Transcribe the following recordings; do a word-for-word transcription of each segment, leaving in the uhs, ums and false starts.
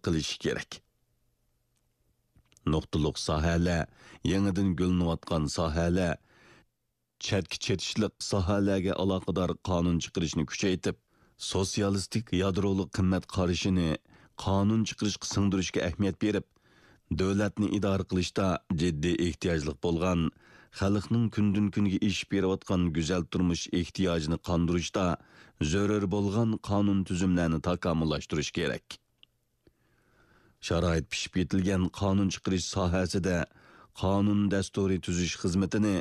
قىلىشى كېرەك. نۇقتىلىق ساھەلەر، يېڭىدىن گۈللىنىۋاتقان ساھەلەر، چەتكە چېتىشلىق ساھەلەرگە ئالاقىدار قانۇن چىقىرىشنى كۈچەيتىپ، سوتسىيالىستىك يادرولۇق قىممەت قارىشىنى قانۇن چىقىرىشقا سىڭدۈرۈشكە ئەھمىيەت بېرىپ، دۆلەتنى ئىدارە قىلىشتا جىددىي ئېھتىياجلىق بولغان، خەلقنىڭ كۈندىن-كۈنگە ئېشىپ بېرىۋاتقان گۈزەل تۇرمۇش ئېھتىياجىنى قاندۇرۇشتا زۆرۈر بولغان قانۇن تۈزۈملەرنى تاكامۇللاشتۇرۇش كېرەك. شارائىت پىشىپ يېتىلگەن قانۇن چىقىرىش ساھەسىدە قانۇن دەستۇرى تۈزۈش خىزمىتىنى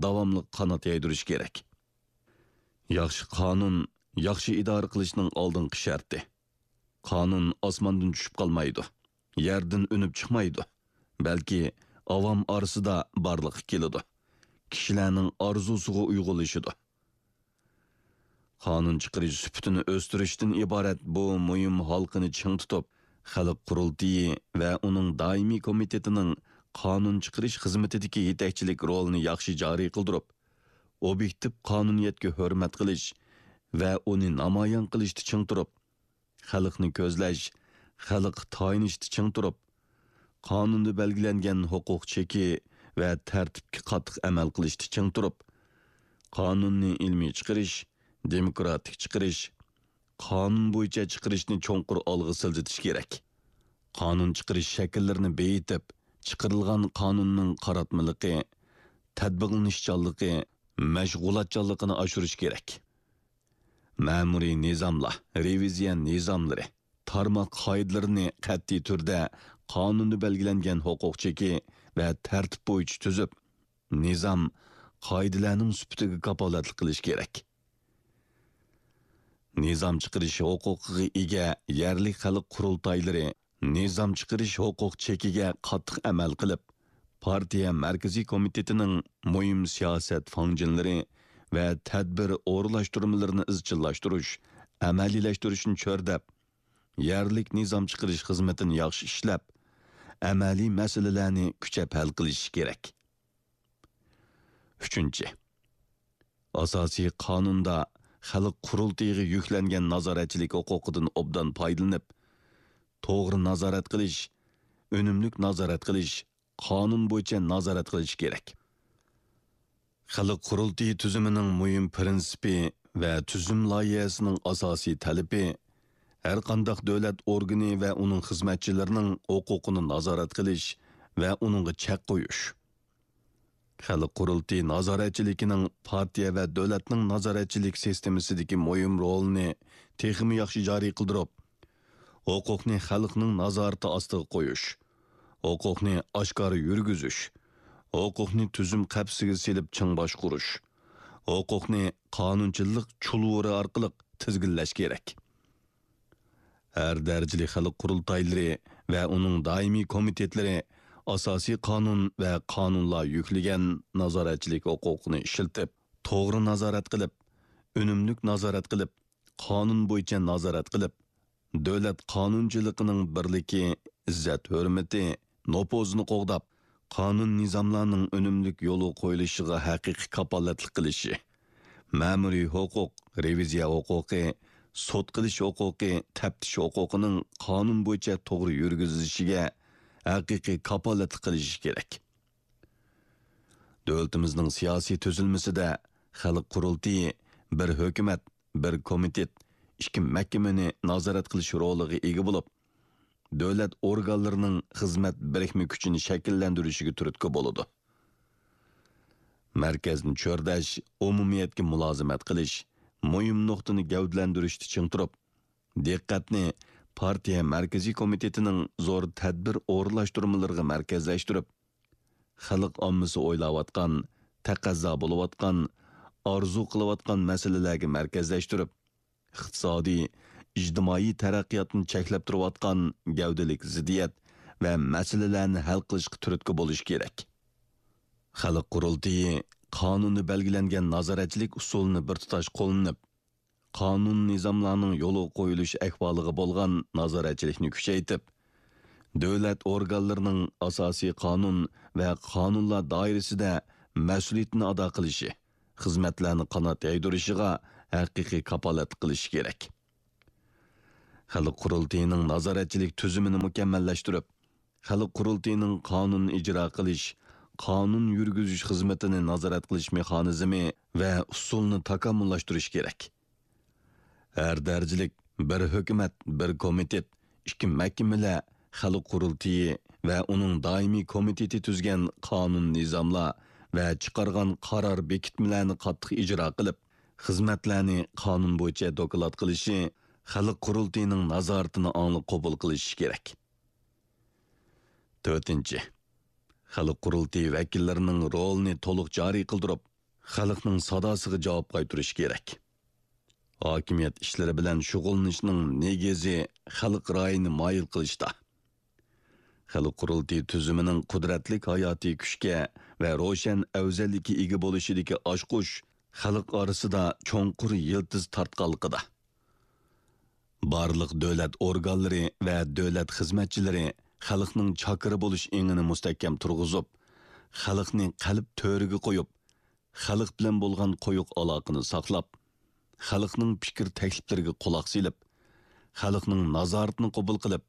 داۋاملىق قانات يايدۇرۇش كېرەك. ياخشى قانۇن ياخشى ئىدارە قىلىشنىڭ ئالدىنقى شەرتى. قانۇن ئاسماندىن چۈشۈپ قالمايدۇ، يەردىن ئۈنۈپ چىقمايدۇ، بەلكى ئاۋام ئارىسىدا بارلىققا كېلىدۇ، كىشىلەرنىڭ ئارزۇسىغا ئۇيغۇنلىشىدۇ. قانۇن چىقىرىش سۈپىتىنى ئۆستۈرۈشتىن ئىبارەت بۇ مۇھىم ھالقىنى چىڭ تۇتۇپ، خەلق قۇرۇلتىيى ۋە ئۇنىڭ دائىمىي كومىتېتىنىڭ قانۇن چىقىرىش خىزمىتىدىكى يېتەكچىلىك رولىنى ياخشى جارى قىلدۇرۇپ، ئوبيېكتىپ قانۇنىيەتكە ھۆرمەت قىلىش ۋە ئۇنى نامايان قىلىشتا چىڭ تۇرۇپ، خەلقنى كۆزلەش، خەلققە تايىنىشتا چىڭ تۇرۇپ، قانۇندا بەلگىلەنگەن ھوقۇق چېكى ۋە تەرتىپكە قاتتىق ئەمەل قىلىشتا چىڭ تۇرۇپ، قانۇننى ئىلمىي چىقىرىش، دېموكراتىك چىقىرىش، قانۇن بويىچە چىقىرىشنى چوڭقۇر ئالغا سىلجىتىش كېرەك. قانۇن چىقىرىش شەكىللىرىنى بېيىتىپ، چىقىرىلغان قانۇننىڭ قاراتمىلىقى، تەتبىقلىنىشچانلىقى، مەشغۇلاتچانلىقىنى ئاشۇرۇش كېرەك. مەمۇرىي نىزاملار، رېۋىزىيە نىزاملىرى، تارماق قائىدىلىرىنى قەتئىي تۈردە قانۇندا بەلگىلەنگەن ھوقۇق چېكى ۋە تەرتىپ بويىچە تۈزۈپ، نىزام، قائىدىلەرنىڭ سۈپىتىگە كاپالەتلىك قىلىش كېرەك. نىزام چىقىرىش ھوقۇقىغا ئىگە يەرلىك خەلق قۇرۇلتايلىرى نىزام چىقىرىش ھوقۇق چېكىگە قاتتىق ئەمەل قىلىپ، پارتىيە مەركىزىي كومىتېتىنىڭ مۇھىم سىياسەت فاڭجېنلىرى ۋە تەدبىر ئورۇنلاشتۇرمىلىرىنى ئىزچىللاشتۇرۇش، ئەمەلىيلەشتۈرۈشنى چۆرىدەپ، يەرلىك نىزام چىقىرىش خىزمىتىنى ياخشى ئىشلەپ، ئەمەلىي مەسىلىلەرنى كۈچەپ ھەل قىلىشى كېرەك. ئۈچىنچى، ئاساسىي قانۇندا خەلق قۇرۇلتىيىغا يۈكلەنگەن نازارەتچىلىك ھوقۇقىدىن ئوبدان پايدىلىنىپ، توغرا نازارەت قىلىش، ئۈنۈملۈك نازارەت قىلىش، قانۇن بويىچە نازارەت قىلىش كېرەك. خەلق قۇرۇلتىيى تۈزۈمىنىڭ مۇھىم پىرىنسىپى ۋە تۈزۈم لايىھەسىنىڭ ئاساسىي تەلىپى، ھەرقانداق دۆلەت ئورگىنى ۋە ئۇنىڭ خىزمەتچىلىرىنىڭ ھوقۇقىنى نازارەت قىلىش ۋە ئۇنىڭغا چەك قويۇش. خەلق قۇرۇلتىيى نازارەتچىلىكىنىڭ پارتىيە ۋە دۆلەتنىڭ نازارەتچىلىك سىستېمىسىدىكى مۇھىم رولىنى تېخىمۇ ياخشى جارى قىلدۇرۇپ، ھوقۇقنى خەلقنىڭ نازارىتى ئاستىغا قويۇش، ھوقۇقنى ئاشكارا يۈرگۈزۈش، ھوقۇقنى تۈزۈم قەپىسىگە سېلىپ چىڭ باشقۇرۇش، ھوقۇقنى قانۇنچىلىق چۇلۋۇرى ئارقىلىق تىزگىنلەش كېرەك. ھەر دەرىجىلىك خەلق قۇرۇلتايلىرى ۋە ئۇنىڭ دائىمىي كومىتېتلىرى ئاساسىي قانۇن ۋە قانۇنلار يۈكلىگەن نازارەتچىلىك ھوقۇقىنى ئىشلىتىپ، توغرا نازارەت قىلىپ، ئۈنۈملۈك نازارەت قىلىپ، قانۇن بويىچە نازارەت قىلىپ، دۆلەت قانۇنچىلىقىنىڭ بىرلىكى، ئىززەت-ھۆرمىتى، نوپۇزىنى قوغداپ، قانۇن-نىزاملارنىڭ ئۈنۈملۈك يولغا قويۇلۇشىغا ھەقىقىي كاپالەتلىك قىلىشى، مەمۇرىي ھوقۇق، رېۋىزىيە ھوقۇقى، سوت قىلىش ھوقۇقى، تەپتىش ھوقۇقىنىڭ قانۇن بويىچە توغرا يۈرگۈزۈلۈشىگە ھەقىقىي كاپالەتلىك قىلىشى كېرەك. دۆلىتىمىزنىڭ سىياسىي تۈزۈلمىسىدە خەلق قۇرۇلتىيى بىر ھۆكۈمەت، بىر كومىتېت، ئىككى مەھكىمىنى نازارەت قىلىش رولىغا ئىگە بولۇپ، دۆلەت ئورگانلىرىنىڭ خىزمەت بىرىكمە كۈچىنى شەكىللەندۈرۈشىگە تۈرتكە بولىدۇ. مەركەزنى چۆرىدەش، ئومۇمىيەتكە مۇلازىمەت قىلىش، مۇھىم نۇقتىنى گەۋدىلەندۈرۈشتە چىڭ تۇرۇپ، دىققەتنى پارتىيە مەركىزىي كومىتېتىنىڭ زور تەدبىر ئورۇنلاشتۇرمىلىرىغا مەركەزلەشتۈرۈپ، خەلق ئاممىسى ئويلاۋاتقان، تەقەززا بولۇۋاتقان، ئارزۇ قىلىۋاتقان مەسىلىلەرگە مەركەزلەشتۈرۈپ، ئىقتىسادىي، ئىجتىمائىي تەرەققىياتنى چەكلەپ تۇرۇۋاتقان گەۋدىلىك زىددىيەت ۋە مەسىلىلەرنى ھەل قىلىشقا تۈرتكە بولۇش كېرەك. خەلق قۇرۇلتىيى قانۇندا بەلگىلەنگەن نازارەتچىلىك ئۇسۇلىنى بىر تۇتاش قوللىنىپ، قانۇن-نىزاملارنىڭ يولغا قويۇلۇش ئەھۋالىغا بولغان نازارەتچىلىكنى كۈچەيتىپ، دۆلەت ئورگانلىرىنىڭ ئاساسىي قانۇن ۋە قانۇنلار دائىرىسىدە مەسئۇلىيىتىنى ئادا قىلىشى، خىزمەتلەرنى قانات يايدۇرۇشىغا ھەقىقىي كاپالەتلىك قىلىشى كېرەك. خەلق قۇرۇلتىيىنىڭ نازارەتچىلىك تۈزۈمىنى مۇكەممەللەشتۈرۈپ، خەلق قۇرۇلتىيىنىڭ قانۇن ئىجرا قىلىش، قانۇن يۈرگۈزۈش خىزمىتىنى نازارەت قىلىش مېخانىزمى ۋە ئۇسۇلىنى تاكامۇللاشتۇرۇش كېرەك. ھەر دەرىجىلىك بىر ھۆكۈمەت، بىر كومىتېت، ئىككى مەھكىمىلەر، خەلق قۇرۇلتىيى ۋە ئۇنىڭ دائىمىي كومىتېتى تۈزگەن قانۇن نىزاملار ۋە چىقارغان قارار بېكىتمىلەرنى قاتتىق ئىجرا قىلىپ، خىزمەتلەرنى قانۇن بويىچە دوكلات قىلىشى خەلق قۇرۇلتىيىنىڭ نازارىتىنى ئاڭلىق قوبۇل قىلىشى كېرەك. تۆتىنچى، خەلق قۇرۇلتىيى ۋەكىللىرىنىڭ رولىنى تولۇق جارى قىلدۇرۇپ، خەلقنىڭ ساداسىغا جاۋاب قايتۇرۇشى كېرەك. ھاكىمىيەت ئىشلىرى بىلەن شۇغۇللىنىشنىڭ نېگىزى خەلق رايىنى مايىل قىلىشتا. خەلق قۇرۇلتىيى تۈزۈمىنىڭ قۇدرەتلىك ھاياتىي كۈچكە ۋە روشەن ئەۋزەللىككە ئىگە بولۇشىدىكى ئاچقۇچ خەلق ئارىسىدا چوڭقۇر يىلتىز تارتقانلىقىدا. بارلىق دۆلەت ئورگانلىرى ۋە دۆلەت خىزمەتچىلىرى خەلقنىڭ چاكىرى بولۇش ئېڭىنى مۇستەھكەم تۇرغۇزۇپ، خەلقنى قەلب تۆرىگە قويۇپ، خەلق بىلەن بولغان قويۇق ئالاقىنى ساقلاپ، خەلقنىڭ پىكىر تەكلىپلىرىگە قۇلاق سېلىپ، خەلقنىڭ نازارىتىنى قوبۇل قىلىپ،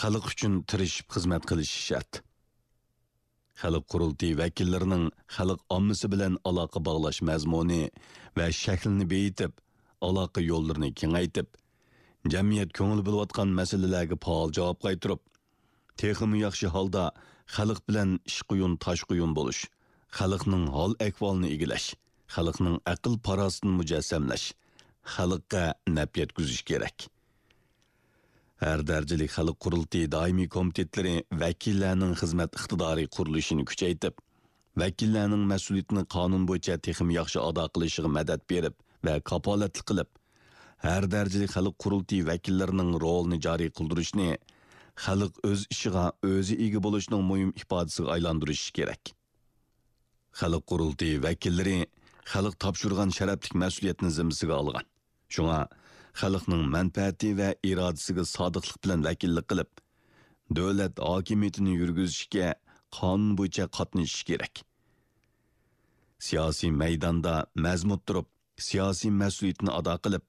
خەلق ئۈچۈن تىرىشىپ خىزمەت قىلىشى شەرت. خەلق قۇرۇلتىيى ۋەكىللىرىنىڭ خەلق ئاممىسى بىلەن ئالاقە باغلاش مەزمۇنى ۋە شەكلىنى بېيىتىپ، ئالاقە يوللىرىنى كېڭەيتىپ، جەمئىيەت كۆڭۈل بۆلۈۋاتقان مەسىلىلەرگە پائال جاۋاب قايتۇرۇپ، تېخىمۇ ياخشى ھالدا خەلق بىلەن ئىشقۇيۇن تاشقۇيۇن بولۇش، خەلقنىڭ ھال-ئەھۋالىنى ئىگىلەش، خەلقنىڭ ئەقىل-پاراسىتىنى مۇجەسسەملەش، خەلققە نەپ يەتكۈزۈش كېرەك. ھەر دەرىجىلىك خەلق قۇرۇلتىيى دائىمىي كومىتېتلىرى ۋەكىللەرنىڭ خىزمەت ئىقتىدارى قۇرۇلۇشىنى كۈچەيتىپ، ۋەكىللەرنىڭ مەسئۇلىيىتىنى قانۇن بويىچە تېخىمۇ ياخشى ئادا قىلىشىغا مەدەت بېرىپ ۋە كاپالەتلىك قىلىپ، ھەر دەرىجىلىك خەلق قۇرۇلتىيى ۋەكىللىرىنىڭ رولىنى جارى قىلدۇرۇشنى خەلق ئۆز ئىشىغا ئۆزى ئىگە بولۇشنىڭ مۇھىم ئىپادىسىگە ئايلاندۇرۇشى كېرەك. خەلق قۇرۇلتىيى ۋەكىللىرى خەلق تاپشۇرغان شەرەپلىك مەسئۇلىيەتنى زىممىسىگە ئالغان. شۇڭا خەلقنىڭ مەنپەئەتى ۋە ئىرادىسىگە سادىقلىق بىلەن ۋەكىللىك قىلىپ، دۆلەت ھاكىمىيىتىنى يۈرگۈزۈشكە قانۇن بويىچە قاتنىشىشى كېرەك. سىياسىي مەيداندا مەزمۇت تۇرۇپ، سىياسىي مەسئۇلىيىتىنى ئادا قىلىپ،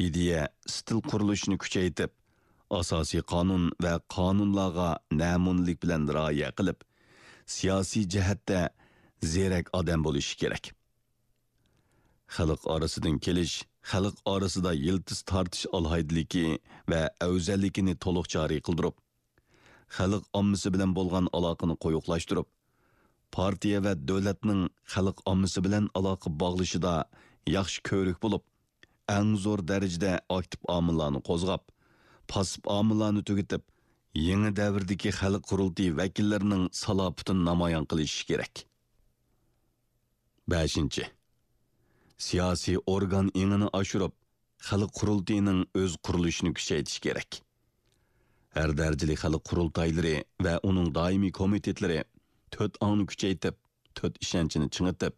ئىدىيە، ئىستىل قۇرۇلۇشىنى كۈچەيتىپ، ئاساسىي قانۇن ۋە قانۇنلارغا نەمۇنىلىك بىلەن رىئايە قىلىپ، سىياسىي جەھەتتە زېرەك ئادەم بولۇشى كېرەك. خەلق ئارىسىدىن كېلىش، خەلق ئارىسىدا يىلتىز تارتىش ئالاھىدىلىكى ۋە ئەۋزەللىكىنى تولۇق جارى قىلدۇرۇپ، خەلق ئاممىسى بىلەن بولغان ئالاقىنى قويۇقلاشتۇرۇپ، پارتىيە ۋە دۆلەتنىڭ خەلق ئاممىسى بىلەن ئالاقە باغلىشىدا ياخشى كۆۋرۈك بولۇپ، ئەڭ زور دەرىجىدە ئاكتىپ ئامىللارنى قوزغاپ، پاسسىپ ئامىللارنى تۈگىتىپ، يېڭى دەۋردىكى خەلق قۇرۇلتىيى ۋەكىللىرىنىڭ سالاپىتىنى نامايان قىلىشى كېرەك. بەشىنچى، سىياسىي ئورگان ئېڭىنى ئاشۇرۇپ، خەلق قۇرۇلتىيىنىڭ ئۆز قۇرۇلۇشىنى كۈچەيتىش كېرەك. ھەر دەرىجىلىك خەلق قۇرۇلتايلىرى ۋە ئۇنىڭ دائىمىي كومىتېتلىرى تۆت ئاڭنى كۈچەيتىپ، تۆت ئىشەنچنى چىڭىتىپ،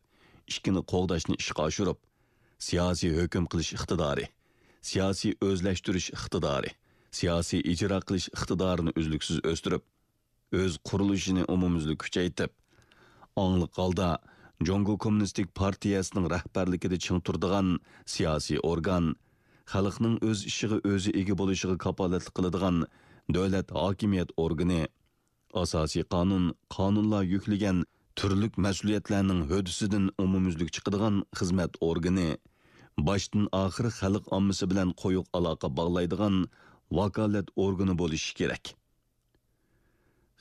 ئىككىنى قوغداشنى ئىشقا ئاشۇرۇپ، سىياسىي ھۆكۈم قىلىش ئىقتىدارى، سىياسىي ئۆزلەشتۈرۈش ئىقتىدارى، سىياسىي ئىجرا قىلىش ئىقتىدارىنى ئۈزلۈكسىز ئۆستۈرۈپ، ئۆز قۇرۇلۇشىنى ئومۇميۈزلۈك كۈچەيتىپ، ئاڭلىق ھالدا جۇڭگو كوممۇنىستىك پارتىيەسىنىڭ رەھبەرلىكىدە چىڭ تۇرىدىغان سىياسىي ئورگان، خەلقنىڭ ئۆز ئىشىغا ئۆزى ئىگە بولۇشىغا كاپالەتلىك قىلىدىغان دۆلەت ھاكىمىيەت ئورگىنى، ئاساسىي قانۇن، قانۇنلار يۈكلىگەن تۈرلۈك مەسئۇلىيەتلەرنىڭ ھۆددىسىدىن ئومۇميۈزلۈك چىقىدىغان خىزمەت ئورگىنى، باشتىن ئاخىر خەلق ئاممىسى بىلەن قويۇق ئالاقە باغلايدىغان ۋاكالەت ئورگىنى بولۇشى كېرەك.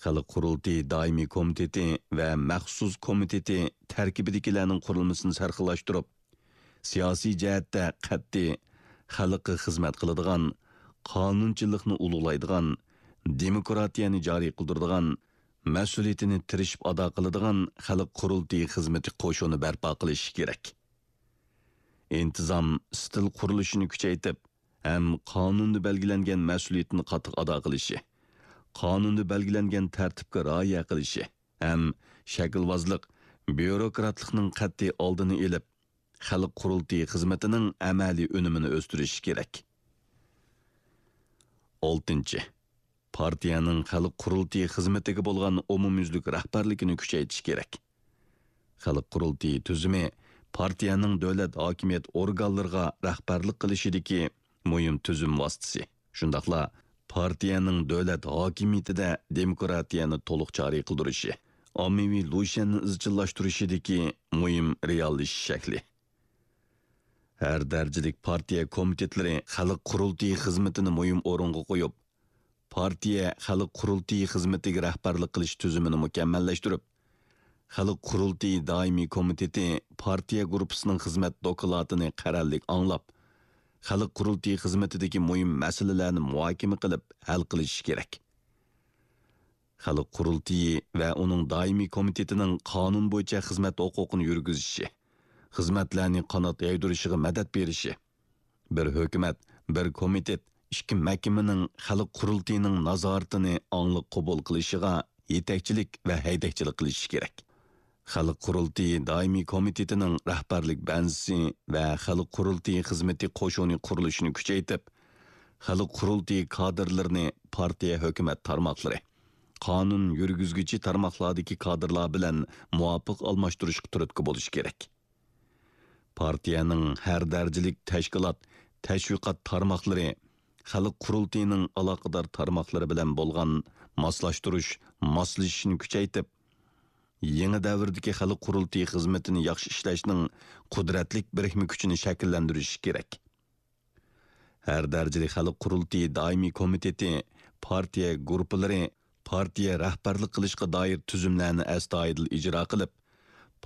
خەلق قۇرۇلتىيى دائىمىي كومىتېتى ۋە مەخسۇس كومىتېتى تەركىبىدىكىلەرنىڭ قۇرۇلمىسىنى سەرخىللاشتۇرۇپ، سىياسىي جەھەتتە قەتئىي، خەلققە خىزمەت قىلىدىغان، قانۇنچىلىقنى ئۇلۇغلايدىغان، دېموكراتىيەنى جارى قىلدۇرىدىغان، مەسئۇلىيىتىنى تىرىشىپ ئادا قىلىدىغان خەلق قۇرۇلتىيى خىزمىتى قوشۇنى بەرپا قىلىشى كېرەك. ئىنتىزام، ئىستىل قۇرۇلۇشىنى كۈچەيتىپ، ھەم قانۇندا بەلگىلەنگەن مەسئۇلىيىتىنى قاتتىق ئادا قىلىشى، قانۇندا بەلگىلەنگەن تەرتىپكە رىئايە قىلىشى ھەم شەكىلۋازلىق، بيۇروكراتلىقنىڭ قەتئىي ئالدىنى ئېلىپ، خەلق قۇرۇلتىيى خىزمىتىنىڭ ئەمەلىي ئۈنۈمىنى ئۆستۈرۈشى كېرەك. ئالتىنچى، پارتىيەنىڭ خەلق قۇرۇلتىيى خىزمىتىگە بولغان ئومۇميۈزلۈك رەھبەرلىكىنى كۈچەيتىش كېرەك. خەلق قۇرۇلتىيى تۈزۈمى پارتىيەنىڭ دۆلەت ھاكىمىيەت ئورگانلىرىغا رەھبەرلىك قىلىشىدىكى مۇھىم تۈزۈم ۋاسىتىسى. شۇنداقلا پارتىيەنىڭ دۆلەت ھاكىمىيىتىدە دېموكراتىيەنى تولۇق جارى قىلدۇرۇشى، ئاممىۋى لۇشيەننى ئىزچىللاشتۇرۇشىدىكى مۇھىم رېئاللىشىش شەكلى. ھەر دەرىجىلىك پارتىيە كومىتېتلىرى خەلق قۇرۇلتىيى خىزمىتىنى مۇھىم ئورۇنغا قويۇپ، پارتىيە خەلق قۇرۇلتىيى خىزمىتىگە رەھبەرلىك قىلىش تۈزۈمىنى مۇكەممەللەشتۈرۈپ، خەلق قۇرۇلتىيى دائىمىي كومىتېتى پارتىيە گۇرۇپپىسىنىڭ خىزمەت دوكلاتىنى قەرەللىك ئاڭلاپ، خەلق قۇرۇلتىيى خىزمىتىدىكى مۇھىم مەسىلىلەرنى مۇھاكىمە قىلىپ ھەل قىلىشى كېرەك. خەلق قۇرۇلتىيى ۋە ئۇنىڭ دائىمىي كومىتېتىنىڭ قانۇن بويىچە خىزمەت ھوقۇقىنى يۈرگۈزۈشى، خىزمەتلەرنى قانات يايدۇرۇشىغا مەدەت بېرىشى، بىر ھۆكۈمەت، بىر كومىتېت، ئىككى مەھكىمىنىڭ خەلق قۇرۇلتىيىنىڭ نازارىتىنى ئاڭلىق قوبۇل قىلىشىغا يېتەكچىلىك ۋە ھەيدەكچىلىك قىلىشى كېرەك. خەلق قۇرۇلتىيى دائىمىي كومىتېتىنىڭ رەھبەرلىك بەنزىسى ۋە خەلق قۇرۇلتىيى خىزمىتى قوشۇنى قۇرۇلۇشىنى كۈچەيتىپ، خەلق قۇرۇلتىيى كادىرلىرىنى پارتىيە ھۆكۈمەت تارماقلىرى، قانۇن يۈرگۈزگۈچى تارماقلاردىكى كادىرلار بىلەن مۇۋاپىق ئالماشتۇرۇشقا تۈرتكە بولۇشى كېرەك. پارتىيەنىڭ ھەر دەرىجىلىك تەشكىلات، تەشۋىقات تارماقلىرى، خەلق قۇرۇلتىيىنىڭ ئالاقىدار تارماقلىرى بىلەن بولغان ماسلاشتۇرۇش، ماسلىشىشنى كۈچەيتىپ، يېڭى دەۋردىكى خەلق قۇرۇلتىيى خىزمىتىنى ياخشى ئىشلەشنىڭ قۇدرەتلىك بىرىكمە كۈچىنى شەكىللەندۈرۈشى كېرەك. ھەر دەرىجىلىك خەلق قۇرۇلتىيى دائىمىي كومىتېتى، پارتىيە گۇرۇپپىلىرى پارتىيە رەھبەرلىك قىلىشقا دائىر تۈزۈملەرنى ئەستايىدىل ئىجرا قىلىپ،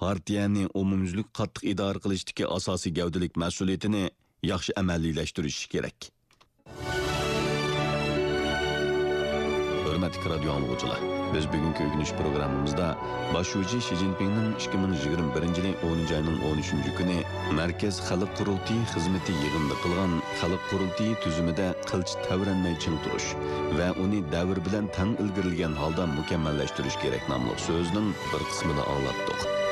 پارتىيەنى ئومۇميۈزلۈك قاتتىق ئىدارە قىلىشتىكى ئاساسىي گەۋدىلىك مەسئۇلىيىتىنى ياخشى ئەمەلىيلەشتۈرۈشى كېرەك. ھۆرمەتلىك رادىيو ئاڭلىغۇچىلار، بىز بۈگۈنكى ئۆگىنىش پروگراممىمىزدا باش شۇجى شى جىنپىڭنىڭ ئىككى مىڭ يىگىرمە بىرىنچى يىلى ئونىنچى ئاينىڭ ئون ئۈچىنچى كۈنى مەركەز خەلق قۇرۇلتىيى خىزمىتى يىغىنىدا قىلغان خەلق قۇرۇلتىيى تۈزۈمىدە قىلچە تەۋرەنمەي چىڭ تۇرۇش ۋە ئۇنى دەۋر بىلەن تەڭ ئىلگىرىلىگەن ھالدا مۇكەممەللەشتۈرۈش كېرەك ناملىق سۆزىنىڭ بىر قىسمىنى ئاڭلاتتۇق.